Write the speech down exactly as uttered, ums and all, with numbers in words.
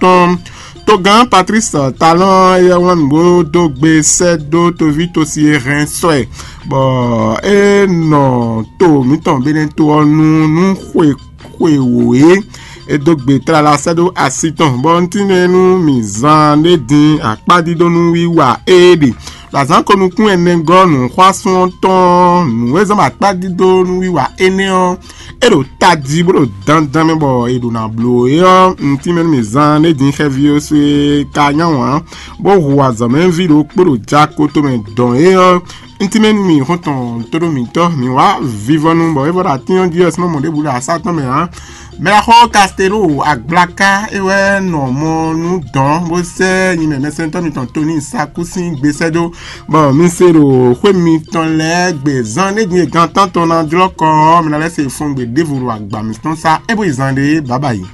tɔn. Togán Patrice Talon éyɛ́ wlán nǔgbó dó gbe sɛ́ dó toví tosi e hɛn sɔ́ ɛ, bɔ é nɔ to mǐtɔn Benɛto ɔ́ nu nú xwe xwe wǒ é. É dó gbe tlala sɛ́ dó asi tɔn, bɔ un tínmɛ nú mǐ zán ɖé din akpádídónú wiwa é ɖe. Ɖo azǎn ko nukún ɛnɛ gɔ́ nǔxwásún ɔ́ tɔn nǔ e zán akpádídónú wiwa énɛ́ ɔ́, é ɖo tají bó ɖo dandan mɛ bɔ è ɖo ná bló é ɔ́, un tínmɛ nú mǐ zán ɖé din xɛví ɔ́ sú é ka nyá wǎn, bó hu azɔ̌mɛví ɖokpó ɖo jako tomɛ dɔn é ɔ́, un tínmɛ nú mì xɔ́ntɔn tóɖó mǐtɔn, mǐ wá vivɔnu bɔ é vɔ ɖo atín ɔ́ jí ɔ́, sín mɔ ɖěbǔ ɖo asá tɔn mɛ ǎ. Mɛɖaxó Castelo Agblaka é wɛ nɔ mɔ nú dɔn bó sɛ́ nyi mɛ mɛsɛntɔ́ mitɔn Tony Saku sín gbe sɛ́ dó, bɔ mi se ɖo xwé mitɔn lɛ́ɛ gbe zán ɖé din e gan tántɔn ná jlɔ́ kɔ ɔ́, mi ná lɛ́ se fɔngbe ɖěvo ɖo agba mǐtɔn sá é bó yi zán ɖé bǎbǎ yi.